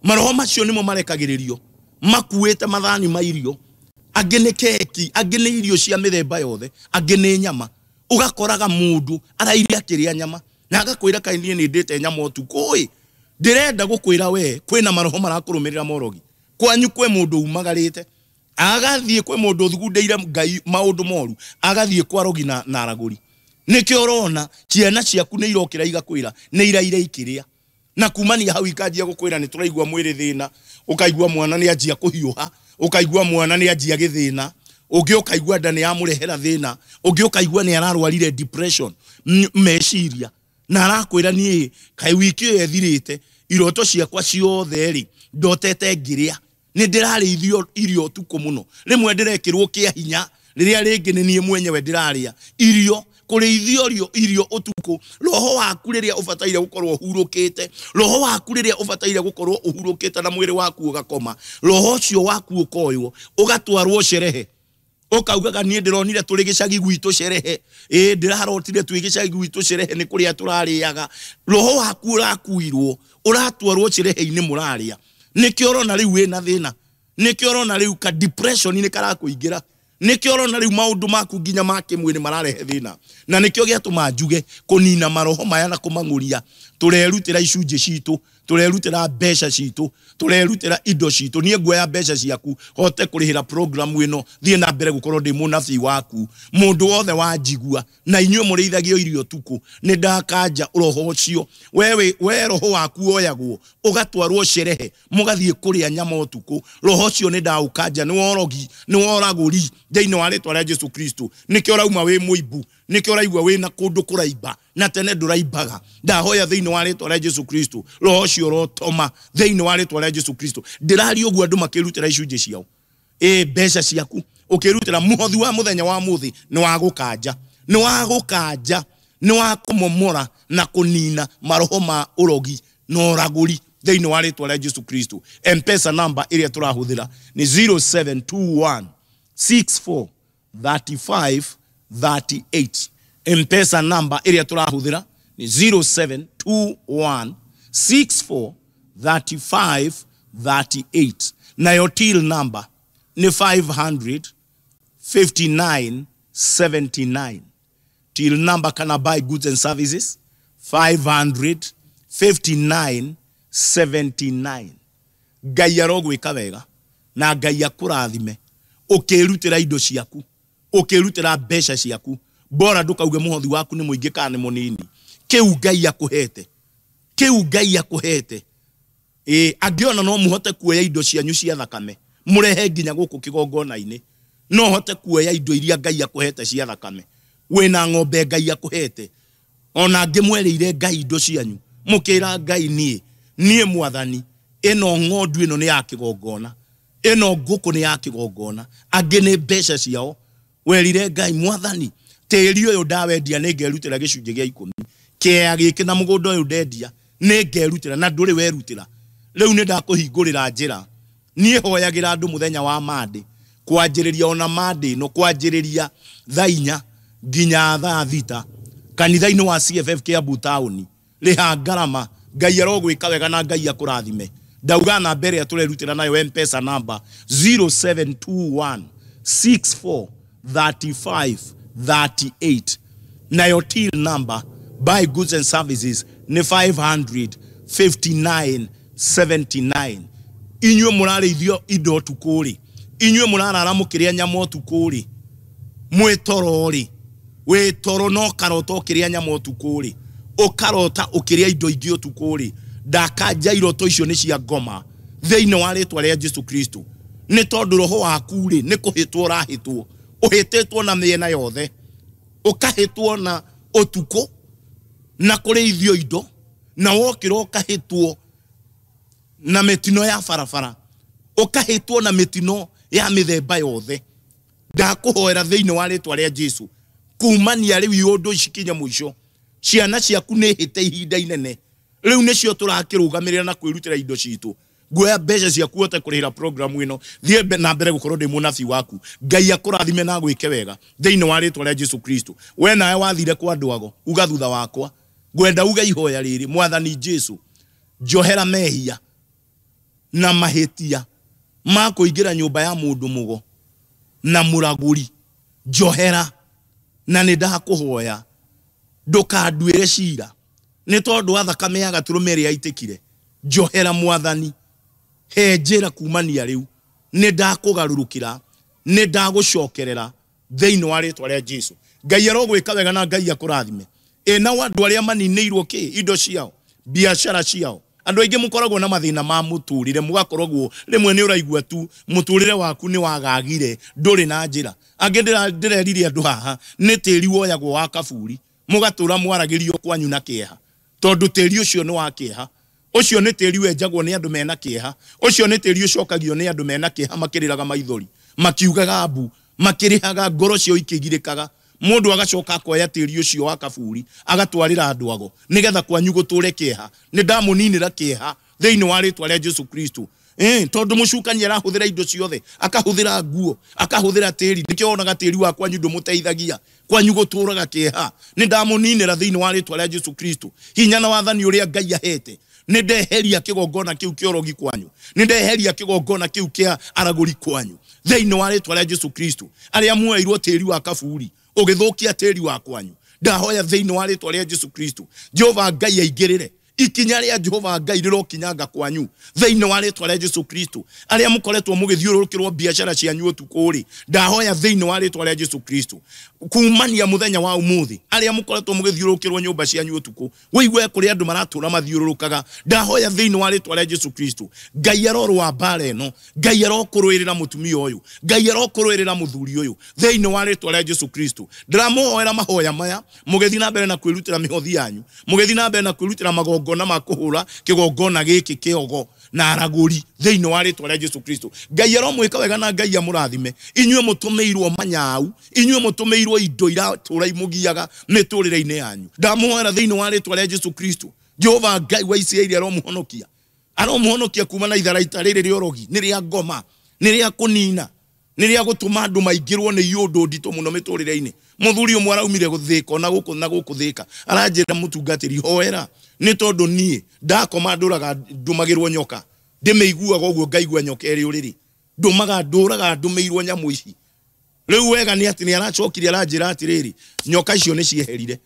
maroho macio nĩmo marekagĩrĩrio, makuĩte mathani ma irio, angĩ nĩ keki, angĩ nĩ irio cia mĩthemba yothe, angĩ nĩ nyama. Ũgakoraga mũndũ araire akĩrĩa nyama na agakwĩra kaĩ niĩ nĩ ndĩte nyama ũtukũ ĩ, ndĩrenda gũkwĩra we kwĩna maroho marakũrũmĩrĩra morogi. Kwanyu kwĩ mũndũ umagarĩte agathiĩ kwĩ mũndũ ũthugundĩire Ngai maũndũ moru, agathiĩ kwa arogi na aragũri. Nĩkĩo ũrona ciana ciaku nĩ irokĩra igakwĩra nĩ iraire ikĩrĩa. Na kumania hau ikanjia gukwira ni turaigua mwiri thina, ukaigua mwana ni anjia kuhiuha, ukaigua mwana ni anjia githina, ungi ukaigua nda ni yamurehera thina, ungi ukaigua ni ararwarire depression meciria, na arakwira nie kai wiki ĩyo ĩthirĩte iroto ciakwa ciothe ri ndotete ngiria, ni ndirarĩithio irio ũtukũ mũno, rĩmwe ndĩrekĩrwo kĩa hinya, rĩrĩa rĩngĩ nĩ niĩ mwenyewe ndĩrarĩa irio, kũrĩithio irio ũtukũ. Roho waku rĩrĩa ũbataire gũkorwo ũhurũkĩte, roho waku rĩrĩa ũbataire gũkorwo ũhurũkĩte na mwĩrĩ waku ũgakoma, roho ũcio waku ũkoywo ũgatwarwo cerehe, ukaugaga niĩ ndĩronire tũrĩ gĩcagi gwitũ cerehe, ĩ ndĩrarotire twĩ gĩcagi gwitũ cerehe nĩ kũrĩa tũrarĩaga. Roho waku ũrakuirwo ũratwarwo cerehe-inĩ mũrarĩa, nĩkĩo ũrona rĩu wĩna thĩna, nĩkĩo ũrona rĩu ka depression nĩ karakũingĩra, nĩkĩo ũrona rĩu maũndũ maku nginya ma kĩmwĩrĩ mararehe thĩna. Na nĩkĩo gĩatũma njuge kũnina maroho maya na kũmang'ũria, tũrerutĩra icunjĩ citũ, tũrerutĩra mbeca citũ, tũrerutĩra indo citũ. Niĩ nguoya mbeca ciaku hote kũrĩhĩra program ĩno, thiĩ na mbere gũkorwo ndĩ mũnabii waku. Mũndũ wothe wanjigua, na inyuĩ mũrĩithagio irio ũtukũ, nĩ ndakanja roho ũcio. We roho waku woyagwo ũgatwarwo cerehe, mũgathiĩ kũrĩa nyama ũtukũ, roho ũcio nĩ ndaũkanja, nĩ worogi, nĩ woragũri thĩinĩ wa rĩtwa rĩa Jesu Kristo. Nĩkĩo ũrauma wĩ mũimbu, nĩkĩo ũraigua wĩna kũndũ kũraimba, na tene ndũraimbaga. Ndahoya thĩinĩ wa rĩtwa rĩa Jesu Kristo, roho ũcio ũrotoma thĩinĩ wa rĩtwa rĩa Jesu Kristo. Ndĩraria ũguo andũ makĩrutĩra icunjĩ ciao, ĩ mbeca ciaku ũkĩrutĩra mũhothi wa mũthenya wa mũthĩ nĩ wa gũkanja, nĩ wa gũkanja, nĩ wa kũmomora na kũnina maroho ma ũrogi na ũragũri thĩinĩ wa rĩtwa rĩa Jesu Kristo. M-Pesa number ĩrĩa tũrahũthĩra nĩ 0721 64 35 38. M-Pesa number ĩrĩa tũrahũthĩra nĩ 0721 64 35 38. Nayo till number nĩ 500 59 79. Till number kana buy goods and services 500 59 79. Ngai arogwĩka wega na Ngai akũrathime ũkĩrutĩra indo ciaku, ũkĩrutĩra mbeca ciaku, bora ndũkauge mũhothi waku nĩ mũingĩ kana nĩ mũnini. Kĩu Ngai akũhete, kĩu Ngai akũhete. Ĩ angĩona no mũhote kuoya indo cianyu cia thakame mũrehe nginya gũkũ kĩgongona-inĩ, no hote kuoya indo iria Ngai akũhete cia thakame. Wĩna ng'ombe Ngai akũhete, ona angĩmwerĩire Ngai indo cianyu, mũkĩra Ngai niĩ mwathani, ĩno ng'ondu ĩno nĩ ya kĩgongona, ĩno ngũkũ nĩ ya kĩgongona, angĩ nĩ mbeca ciao. Werire Ngai mwathani, tĩri ũyũ ndawendia nĩ ngerutĩra gĩcunjĩ gĩa 10, kĩea gĩkĩ na mũgũnda ũyũ ndendia nĩ ngerutĩra, na ndũrĩ werutĩra. Rĩu nĩ ndakũhingũrĩra njĩra. Niĩ hoyagĩra andũ mũthenya wa Monday, kwanjĩrĩria ona Monday ĩno, kwanjĩrĩria thaa 4 nginya thaa 6 kanitha-inĩ wa CFF Kiambu Town. Rĩha ngarama, Ngai arogwĩka wega na Ngai akũrathime. Ndauga namba ĩrĩa tũrerutĩra nayo M-Pesa number 0721 64 35 38. Nayo till number buy goods and services nĩ 500 59 79. Inyuĩ mũrarĩithio indo ũtukũ rĩ, inyuĩ mũrarara mũkĩrĩa nyama ũtukũ rĩ, mwĩ toro rĩ, wĩ toro no karota ũkĩrĩa nyama ũtukũ rĩ, ũkarota ũkĩrĩa indo ingĩ ũtukũ rĩ, ndakanja iroto icio nĩ cia ngoma thĩinĩ wa rĩtwa rĩa Jesu Kristo. Nĩ tondũ roho waku rĩ nĩ kũhĩtwo ũrahĩtwo, ũhĩtĩtwo na mĩena yothe, ũkahĩtwo na ũtukũ na kũrĩithio indo, na wokĩra ũkahĩtwo na mĩtino ya barabara, ũkahĩtwo na mĩtino ya mĩthemba yothe. Ndakũhoera thĩinĩ wa rĩtwa rĩa Jesu, kumania rĩu iũndũ ici kinya mũico, ciana ciaku nĩ hĩte ihinda inene, rĩu nĩcio tũrakĩrũgamĩrĩra na kwĩrutĩra indo citũ. Nguoya mbeca ciaku hote kũrĩhĩra program ĩno, thiĩ na mbere gũkorwo ndĩ mũnabii waku. Ngai akũrathime na agwĩke wega thĩinĩ wa rĩtwa rĩa Jesu Kristo. We nawe wathire kwa andũ ago, uga thutha wakwa, ngwenda uge ihoya rĩrĩ: Mwathani Jesu, njohera mehia na mahĩtia ma kũingĩra nyũmba ya mũndũ mũgo na mũragũri, njohera, na nĩ ndakũhoya ndũkanduĩre cira nĩ tondũ wa thakame ya gatũrũme ĩrĩa yaitĩkire. Njohera Mwathani, he njĩra kumania rĩu, nĩ ndakũgarũrũkĩra, nĩ ndagũcokerera thĩinĩ wa rĩtwa rĩa Jesu. Ngai arogwĩka wega na Ngai akũrathime. Ĩ nao andũ arĩa maninĩirwo kĩ indo ciao, biacara ciao, Andũ aingĩ mũkoragwo na mathĩna ma mũtũrĩre, mũgakoragwo rĩmwe nĩ ũraigua tu mũtũrĩre waku nĩ wagagire, ndũrĩ na njĩra. Angĩ ndĩrerire andũ haha nĩ tĩri woyagwo wa kaburi, mũgatũra mwaragĩrio kwanyu na kĩeha, tondũ tĩri ũcio nĩ wa kĩeha. Ũcio nĩ tĩri wenjagwo nĩ andũ mena kĩeha, ũcio nĩ tĩri ũcokagio nĩ andũ mena kĩeha, makĩrĩraga maithori, makiugaga mbu, makĩrĩhaga, ngoro ciao ikĩgirĩkaga. Mũndũ agacoka akoya tĩri ũcio wa kaburi agatwarĩra andũ ago nĩgetha kwanyu gũtũre kĩeha. Nĩ ndamũninĩra kĩeha thĩinĩ wa rĩtwa rĩa Jesu Kristo. Tondũ mũcukani arahũthĩra indo ciothe, akahũthĩra nguo, akahũthĩra tĩri. Nĩkĩo wonaga tĩri wa kwanyu ndũmũteithagia, kwanyu gũtũraga kĩeha. Nĩ ndamũninĩra thĩinĩ wa rĩtwa rĩa Jesu Kristo. Hinya na wathani ũrĩa Ngai ahete, nĩ ndeheria kĩgongona kĩu kĩa ũrogi kwanyu, nĩ ndeheria kĩgongona kĩu kĩa aragũri kwanyu thĩinĩ wa rĩtwa rĩa Jesu Kristo. Arĩa muoeirwo tĩri wa kaburi ũgĩthũkia tĩri wa kwanyu, ndahoya thĩinĩ wa rĩtwa rĩa Jesu Kristo, Jehova Ngai aingĩrĩre. Ikinya rĩa Jehova Ngai rĩrokinyanga kwanyu thĩinĩ wa rĩtwa rĩa Jesu Kristo. Arĩa mũkoretwo mũgĩthiũrũrũkĩrwo biacara cianyu ũtukũ rĩ, ndahoya thĩinĩ wa rĩtwa rĩa Jesu Kristo, kumania mũthenya wa ũmũthĩ, arĩa mũkoretwo mũgĩthiũrũrũkĩrwo nyũmba cianyu ũtukũ, wĩigue kũrĩ andũ maratũra mathiũrũrũkaga, ndahoya thĩinĩ wa rĩtwa rĩa Jesu Kristo, Ngai arorũa mbara ĩno, Ngai arokũrũĩrĩra mũtumia ũyũ, Ngai arokũrũĩrĩra mũthuri ũyũ thĩinĩ wa rĩtwa rĩa Jesu Kristo. Ndĩramũhoera mahoya maya mũgĩthiĩ na mbere na kwĩrutĩra mĩhothi yanyu, mũgĩthiĩ na mbere na kwĩrutĩra magongona ma kũhũra kĩgongona gĩkĩ kĩogo na aragũri thĩinĩ wa rĩtwa rĩa Jesu Kristo. Ngai aromwĩka wega na Ngai amũrathime. Inyuĩ mũtũmĩirwo manyau, inyuĩ mũtũmĩirwo indo iratũra imũgiaga mĩtũrĩre-inĩ yanyu, ndamũhoera thĩinĩ wa rĩtwa rĩa Jesu Kristo, Jehova Ngai wa Isiraeli aromũhonokia, aromũhonokia kuma na itharaita rĩrĩ rĩa ũrogi, nĩ rĩa ngoma, nĩ rĩa kũnina, nĩ rĩa gũtũma andũ maingĩrwo nĩ iũndũ nditũ mũno mĩtũrĩre-inĩ. Mũthuri ũmwe araumire gũthĩka ona gũkũ na gũkũ thĩka, aranjĩra mũtungatĩri, hoera nĩ tondũ niĩ ndakoma ndũraga ndũmagĩrwo nyoka, ndĩmĩiguaga ũguo ngaigua nyoka ĩrĩ ũrĩrĩ, ndũmaga ndũraga ndũmĩirwo nyamũ ici. Rĩu wega nĩ atĩ nĩ aracokire aranjĩra atĩrĩrĩ, nyoka icio nĩ cieherire,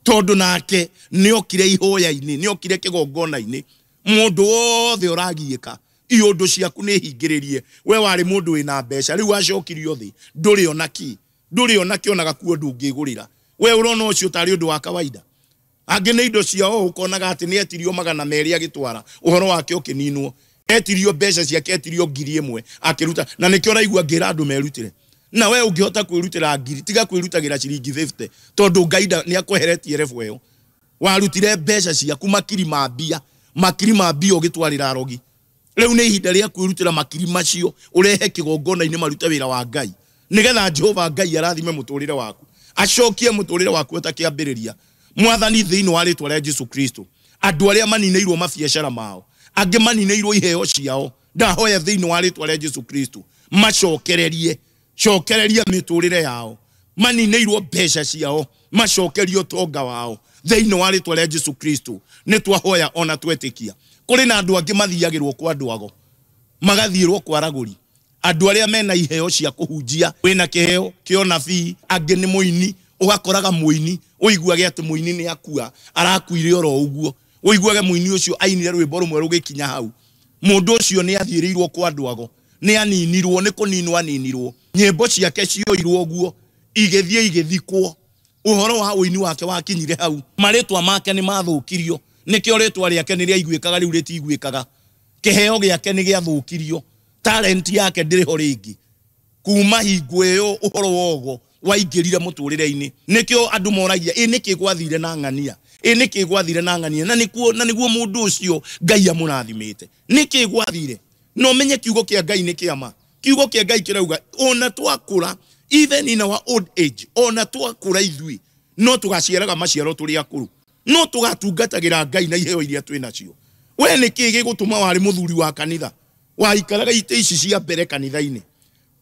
tondũ nake nĩokire ihoya-inĩ, nĩokire kĩgongona-inĩ. Mũndũ wothe ũragiĩka, iũndũ ciaku nĩ hingĩrĩrie. We warĩ mũndũ wĩna mbeca, rĩu acokirio thĩ, ndũrĩ ona kĩ, ndũrĩ ona kĩ, ona gakuo ndũngĩgũrĩra. We ũrona ũcio tarĩ ũndũ wa kawaida. Angĩ nĩ indo ciao ũkonaga atĩ nĩ etirio 200 agĩtwara, ũhoro wake ũkĩninwo, etirio mbeca ciake, etirio 1000 akĩruta. Na nĩkĩo ũraigua ngĩra andũ merutĩre. Na we ũngĩhota kwĩrutĩra ngiri, tiga kwĩrutagĩra ciringi 50, tondũ Ngai nĩ akweheretie level ĩyo. Warutire mbeca ciaku makiri ma mbia, makiri ma mbia ũgĩtwarĩra arogi. Rĩu nĩ ihinda rĩa kwĩrutĩra makiri macio, ũrehe kĩgongona-inĩ marute wĩra wa Ngai, nĩgetha Jehova Ngai arathime mũtũrĩre waku, acokie mũtũrĩre waku ũtakĩambĩrĩria. Mwathani, thĩinĩ wa rĩtwa rĩa Jesu Kristo, andũ arĩa maninĩirwo mabiacara mao, angĩ maninĩirwo iheo ciao, ndahoya thĩinĩ wa rĩtwa rĩa Jesu Kristo, macokererie, cokereria mĩtũrĩre yao, maninĩirwo mbeca ciao, macokerie ũtonga wao thĩinĩ wa rĩtwa rĩa Jesu Kristo. Nĩ twahoya ona twetĩkia. Kũrĩ na andũ angĩ mathiagĩrwo kwa andũ ago, magathiĩrwo kwa aragũri, andũ arĩa mena iheo cia kũhunjia, wĩna kĩheo kĩa ũnabii, angĩ nĩ mũini, ũgakoraga mũini, ũiguage atĩ mũini nĩ akua, arakuire oro ũguo, ũiguage mũini ũcio ainire rwĩmbo rũmwe rũgĩkinya hau. Mũndũ ũcio nĩ athiĩrĩirwo kwa andũ ago, nĩ aninirwo, nĩ kũninwo aninirwo, nyĩmbo ciake cioirwo ũguo, igĩthiĩ igĩthikwo, ũhoro wa ũini wake wakinyire hau, marĩtwa make nĩ mathũkirio, nĩkĩo rĩtwa rĩake nĩ rĩaiguĩkaga rĩu rĩtiguĩkaga, kĩheo gĩake nĩ gĩathũkirio, talent yake ndĩrĩ ho rĩngĩ. Kuma hingo ĩyo ũhoro wogo waingĩrire mũtũrĩre-inĩ. Nĩkĩo andũ moragia, ĩ nĩkĩ gwathire na ng'ania, ĩ nĩkĩ gwathire na ng'ania, na nĩkuo, na nĩguo mũndũ ũcio Ngai amũrathimĩte, nĩkĩ gwathire. No menye kiugo kĩa Ngai nĩ kĩa ma. Kiugo kĩa Ngai kĩrauga ona twakũra, even in our old age, ona twakũra ithuĩ no tũgaciaraga maciaro tũrĩ akũrũ, no tũgatungatagĩra Ngai na iheo iria twĩ nacio. We nĩkĩ gĩgũtũma warĩ mũthuri wa kanitha, waikaraga itĩ ici cia mbere kanitha-inĩ,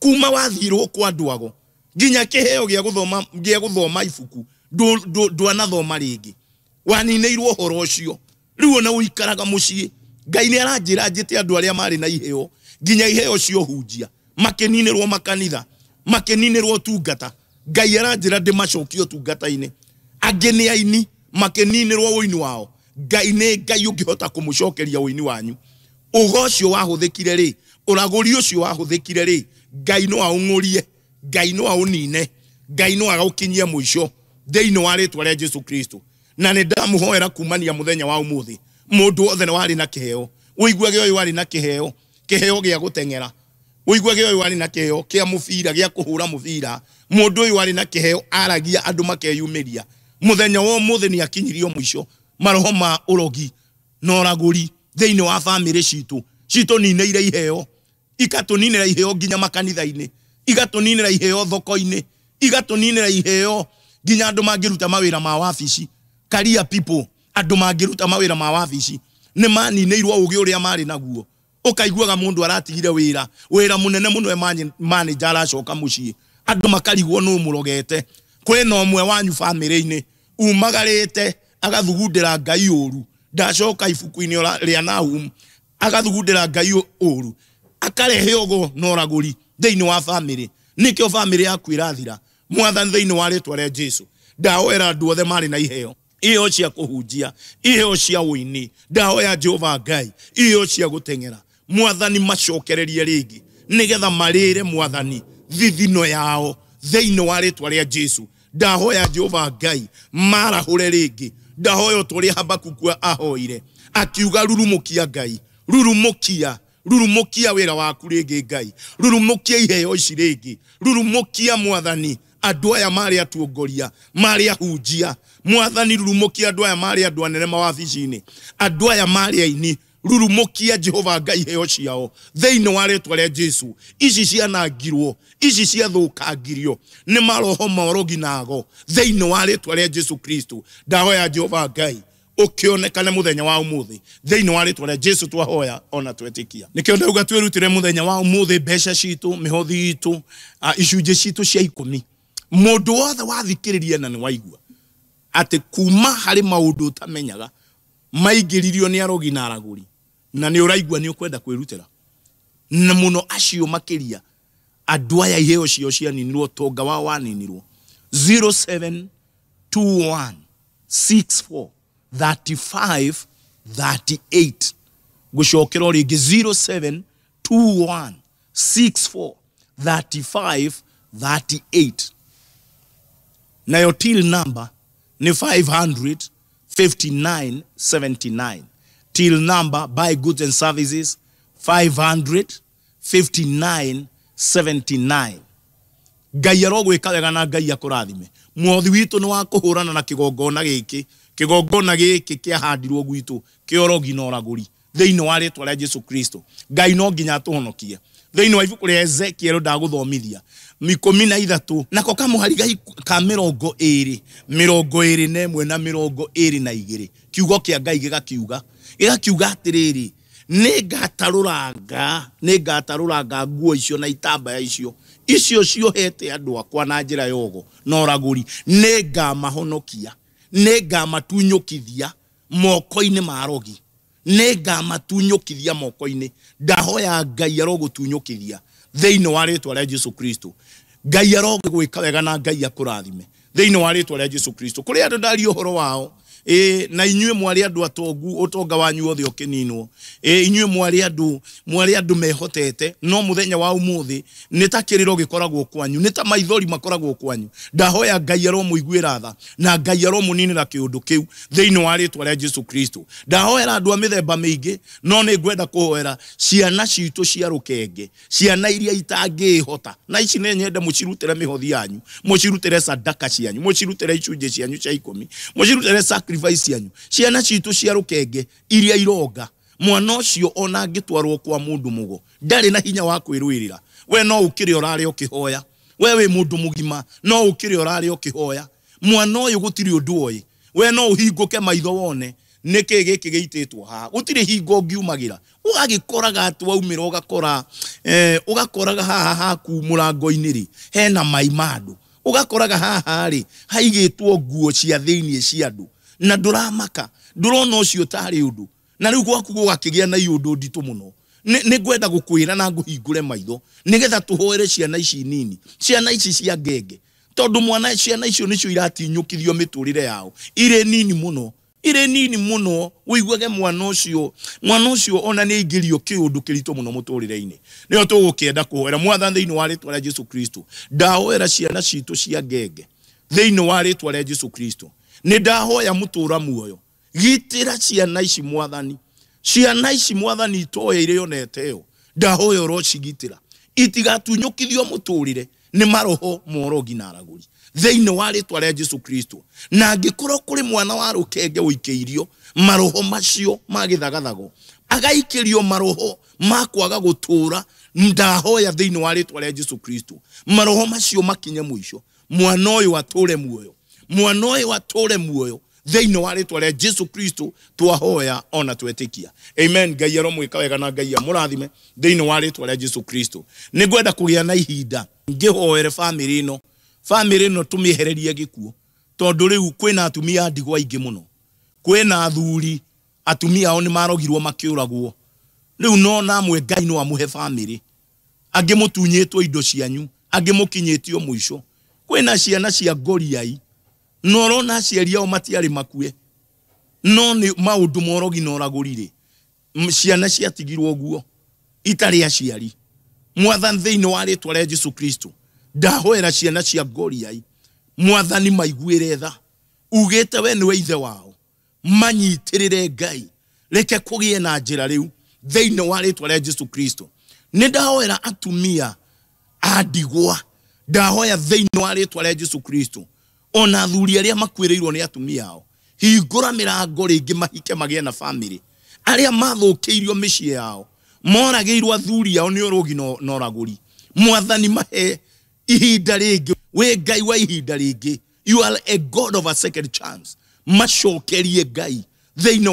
kuma wathirwo kwa andũ ago nginya kĩheo gĩa gũthoma, gĩa gũthoma ibuku ndwanathoma rĩngĩ, waninĩirwo ũhoro ũcio. Rĩu ona ũikaraga mũciĩ, Ngai nĩ aranjĩra njĩte andũ arĩa marĩ na iheo, nginya iheo cia ũhunjia, makĩninĩrwo makanitha, makĩninĩrwo ũtungata. Ngai aranjĩra ndĩmacokie ũtungata-inĩ. Angĩ nĩ aini, makĩninĩrwo ũini wao. Ngai nĩ Ngai ũngĩhota kũmũcokeria ũini wanyu. Ũgo ũcio wahũthĩkire rĩ, ũragũri ũcio wahũthĩkire rĩ, Ngai no aũng'ũrie, Ngai no aũnine, Ngai no agaũkinyie mũico thĩinĩ wa rĩtwa rĩa Jesu Kristo. Na nĩ ndamũhoera kumania mũthenya wa ũmũthĩ, Mũndũ wothe warĩ na kĩheo. Ũiguage ũyũ warĩ na kĩheo, kĩheo gĩa gũteng'era. Ũiguage ũyũ warĩ na kĩheo kĩa mũbira, gĩa kũhũra mũbira. Mũndũ ũyũ warĩ na kĩheo aragia andũ makeyumĩria. Mũthenya wa ũmũthĩ nĩ akinyirio mũico. Maroho ma ũrogi na ũragũri thĩinĩ wa bamĩrĩ citũ citũninĩire iheo, ikatũninĩra iheo nginya makanitha-inĩ, igatũninĩra iheo thoko-inĩ, igatũninĩra iheo nginya andũ mangĩruta mawĩra ma wabici. Career people, andũ mangĩruta mawĩra ma wabici nĩ maninĩirwo ũgĩ ũrĩa marĩ naguo. Ũkaiguaga mũndũ aratigire wĩra, wĩra mũnene mũno e manager aracoka mũciĩ, andũ makarigwo nũ mũrogete. Kwĩna ũmwe wanyu bamĩrĩ-inĩ umagarĩte agathugundĩra Ngai ũru, ndacoka ibuku-inĩ rĩa Nahum, agathugundĩra Ngai ũru, akarehe ũgo na ũragũri thĩinĩ wa bamĩrĩ. Nĩkĩo bamĩrĩ yaku ĩrathira. Mwathani, thĩinĩ wa rĩtwa rĩa Jesu, ndahoera andũ othe marĩ na iheo, iheo cia kũhunjia, iheo cia ũini, ndahoya Jehova Ngai, iheo cia gũteng'era, Mwathani macokererie rĩngĩ nĩgetha marĩre Mwathani thithino yao thĩinĩ wa rĩtwa rĩa Jesu. Ndahoya Jehova Ngai marahũre rĩngĩ. Ndahoya o ta ũrĩa Habakuku ahoire akiuga, rurumũkia Ngai, rurumũkia, rurumũkia wĩra waku rĩngĩ Ngai, rurumũkia iheo ici rĩngĩ, rurumũkia Mwathani andũ aya marĩ atongoria, marĩ ahunjia. Mwathani, rurumũkia andũ aya marĩ andũ anene mawabici-inĩ, andũ aya marĩ aini, rurumũkia Jehova Ngai iheo ciao thĩinĩ wa rĩtwa rĩa Jesu. Ici cianangirwo, ici ciathũkangirio nĩ maroho ma ũrogi na ago thĩinĩ wa rĩtwa rĩa Jesu Kristo. Ndahoya Jehova Ngai ũkĩonekane mũthenya wa ũmũthĩ thĩinĩ wa rĩtwa rĩa Jesu, twahoya ona twetĩkia. Nĩkĩo ndauga twĩrutĩre mũthenya wa ũmũthĩ mbeca citũ, mĩhothi itũ, icunjĩ citũ cia ikũmi. Mũndũ wothe wathikĩrĩria na nĩ waigua atĩ kuma harĩ maũndũ ũtamenyaga maingĩririo nĩ arogi na aragũri, na nĩ ũraigua nĩ ũkwenda kwĩrutĩra, na mũno acio makĩria andũ aya iheo ciao cianinirwo, ũtonga wao waninirwo. 0721 64 35 38. Gũcokera o rĩngĩ, 0721 64 35 38. Nayo till number nĩ 559 79. Till number, buy goods and services, 559 79. Ngai arogwĩka wega na Ngai akũrathime. Mwothi witũ nĩ wa kũhũrana na kĩgongona gĩkĩ, kĩgongona gĩkĩ kĩahandirwo gwitũ kĩa ũrogi na ũragũri thĩinĩ wa rĩtwa rĩa Jesu Kristo. Ngai no nginya atũhonokie. Thĩinĩ wa ibuku rĩa Ezekiel ndagũthomithia 13 nako kamũhari ka 21, 21 na 22, kiugo kĩa Ngai gĩgakiuga atĩrĩrĩ, nĩngatarũranga nguo icio na itambaya icio icio ciohete andũ akwa na njĩra ya ũgo na ũragũri, nĩngamahonokia, nĩngamatunyũkithia moko-inĩ ma arogi, nĩngamatunyũkithia moko-inĩ. Ndahoya Ngai arogũtunyũkithia thĩinĩ wa rĩtwa rĩa Jesu Kristo. Ngai arogwĩka wega na Ngai akũrathime thĩinĩ wa rĩtwa rĩa Jesu Kristo. Kũrĩ andũ ndaria ũhoro wao, na inyuĩ mwarĩ andũ atongu, ũtonga wanyu wothe ũkĩninwo. Inyuĩ mwarĩ andũ mehotete, no mũthenya wa ũmũthĩ nĩ ta kĩrĩro gĩkoragwo kwanyu, nĩ ta maithori makoragwo kwanyu. Ndahoya Ngai aromũiguĩra tha na Ngai aromũninĩra kĩũndũ kĩu thĩinĩ wa rĩtwa rĩa Jesu Kristo. Ndahoera andũ a mĩthemba mĩingĩ, no nĩ ngwenda kũhoera ciana citũ cia rũkenge, ciana iria itangĩĩhota, na ici nĩ nyende mũcirutĩre mĩhothi yanyu, mũcirutĩre sadaka cianyu, mũcirutĩre icunjĩ cianyu cia ikũmi, mũcirutĩre sacrifice cianyu. Ciana citũ cia rũkenge iria ironga, mwana ũcio ona angĩtwarwo kwa mũndũ mũgo ndarĩ na hinya wa kwĩrũĩrĩra. We no ũkĩrĩ ũrarĩ ũkĩhoya, we wĩ mũndũ mũgima no ũkĩrĩ ũrarĩ ũkĩhoya. Mwana ũyũ gũtirĩ ũndũ oĩ, we no ũhingũke maitho wone nĩkĩ gĩkĩ gĩitĩtwo haha, gũtirĩ hingo ũngiumagĩra, ũgagĩkoraga atĩ waumĩra ũgakora ũgakoraga haha haku mũrango-inĩ rĩ hena mai ma andũ, ũgakoraga haha rĩ haigĩtwo nguo cia thĩinĩ cia andũ, na ndũramaka, ndũrona ũcio tarĩ ũndũ, na rĩu gwaku gũgakĩgĩa na iũndũ nditũ mũno. Nĩ ngwenda gũkwĩra na ngũhingũre maitho nĩgetha tũhoere ciana ici nini, ciana ici cia ngenge, tondũ mwana ciana icio nĩcio iratinyũkithio mĩtũrĩre yao irĩ nini mũno, irĩ nini mũno. Ũiguage mwana ũcio ona nĩ aingĩrio kĩũndũ kĩritũ mũno mũtũrĩre-inĩ. Nĩyo tũgũkĩenda kũhoera Mwathani thĩinĩ wa rĩtwa rĩa Jesu Kristo. Ndahoera ciana citũ cia ngenge thĩinĩ wa rĩtwa rĩa Jesu Kristo. Nĩ ndahoya mũtũra muoyo Gitĩra ciana ici Mwathani, ciana ici Mwathani itoĩ irĩ ona ĩteo, ndahoya ũrocigitĩra itigatunyũkithio mũtũrĩre nĩ maroho morogi na aragũri thĩinĩ wa rĩtwa rĩa Jesu Kristo. Na angĩkorwo kũrĩ mwana wa rũkenge ũikĩirio maroho macio ma gĩthagathago, agaikĩrio maroho ma kwaga gũtũra, ndahoya thĩinĩ wa rĩtwa rĩa Jesu Kristo maroho macio makinye mũico, mwana ũyũ atũre muoyo, mwana ũyũ atũre muoyo thĩinĩ wa rĩtwa rĩa Jesu Kristo twahoya ona twetĩkia. Amen. Ngai aromwĩka wega na Ngai amũrathime thĩinĩ wa rĩtwa rĩa Jesu Kristo. Nĩngwenda kũgĩa na ihinda ngĩhoere bamĩrĩ ĩno, bamĩrĩ ĩno tũmĩehererie gĩkuũ, tondũ rĩu kwĩna atumia a ndigwa aingĩ mũno, kwĩna athuri atumia ao nĩmarogirwo makĩũragwo. Rĩu no namwe Ngai no amũhe bamĩrĩ, angĩ mũtunyĩtwo indo cianyu, angĩ mũkinyĩtio mũico. Kwĩna ciana cia ngoriai no ũrona aciari ao matiarĩ makue, no nĩ maũndũ morogi na ũragũri-rĩ, ciana ciatigirwo ũguo itarĩ aciari. Mwathani thĩinĩ wa rĩtwa rĩa Jesu Kristo ndahoera ciana cia ngoriai, Mwathani maiguĩre tha, ugĩte we nĩwe ithe wao, manyitĩrĩre Ngai, reke kũgĩe na njĩra rĩu thĩinĩ wa rĩtwa rĩa Jesu Kristo. Nĩ ndahoera atumia a ndigwa, ndahoya thĩinĩ wa rĩtwa rĩa Jesu Kristo ona athuri arĩa makuĩrĩirwo nĩ atumia ao, hingũra mĩrango rĩngĩ mahike magĩe na bamĩrĩ. Arĩa mathũkĩirio mĩciĩ yao, moragĩirwo athuri ao nĩ ũrogi na ũragũri, Mwathani mahe ihinda rĩngĩ, wĩ Ngai wa ihinda rĩngĩ, you are a God of a second chance, macokerie Ngai thĩinĩ